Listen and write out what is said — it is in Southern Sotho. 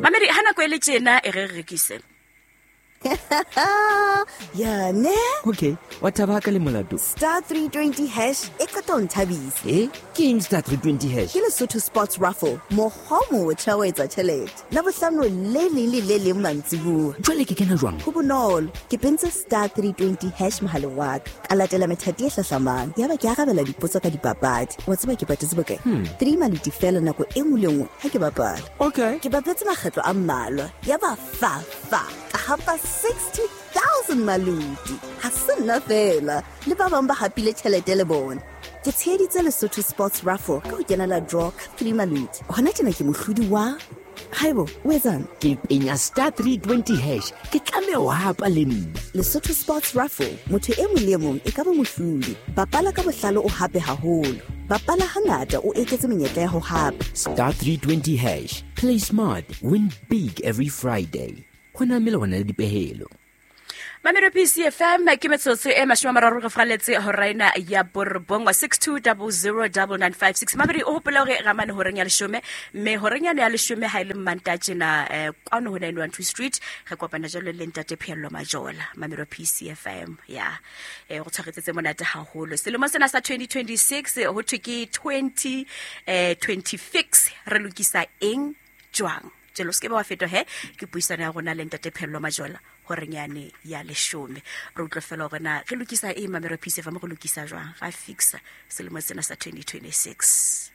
Mamedi, ha nako e le tjena e re re rekise. Ya ne. Okay, wa thaba ka le molato. Star 320 hash e qeta ho nthabisa. E ke eng star 320 hash? Ke Lesotho Sports Raffle, mokgwa o motjha wa etsa tjhelete. Labohlano le leng le le leng mantsibuya. Jwale ke kena jwang? Ho bonolo, ke pentse star 320 hash mohaleng wa ka. Ka latela methati e hlahlamang. Yaba ke arabela dipotso ka dipapadi. Wa tseba ke patetse bokae? 3 maluti fela nako e nngwe le nngwe ha ke bapala. Okay. Ke bapetse makgetlo a mmalwa. Yaba fa fa ka hapa 60,000 maluti. Ha se nna fela, le ba bang ba hapile tjhelete le bona. Ke tsheheditse Lesotho Sports Raffle ka ho kenela draw ka 3 maluti. Hona tjena ke mohlodi wa Haibo, o etsang? Ke penya star 320 hash, ke tlameha ho hapa le nna. Lesotho Sports Raffle, motho e mong le e mong e ka ba mohlodi. Bapala ka bohlale o hape haholo. Bapala hangata o eketse menyetla ya ho hapa. Star 320 hash, play smart, win big every Friday. Ho na melawana le dipehelo. Mamelo PCFM, ke metsotso e 30 re fraletse hora ena ya borobongwe, 62009956. Mamedi, o hopole hore ramane horeng ya leshome, mme horeng yane ya leshome ha e le Mmantaha tjena, kwano ho 912 Street re kopana jwalo le ntate Pheello Majola. Mamelo PCFM ya go tshwaretse tse monate haholo selemong sena sa 2026, ho thwe ke 20 26, re lokisa eng jwang jalo? Se ke ba wa fetwa he ke puisano ya rona le ntate Phello Majola horeng yane ya leshome. Re utlwe fela hore na re lokisa eng. Mamelo PCFM, re lokisa jwang, ra fixa selemo sena sa 2026.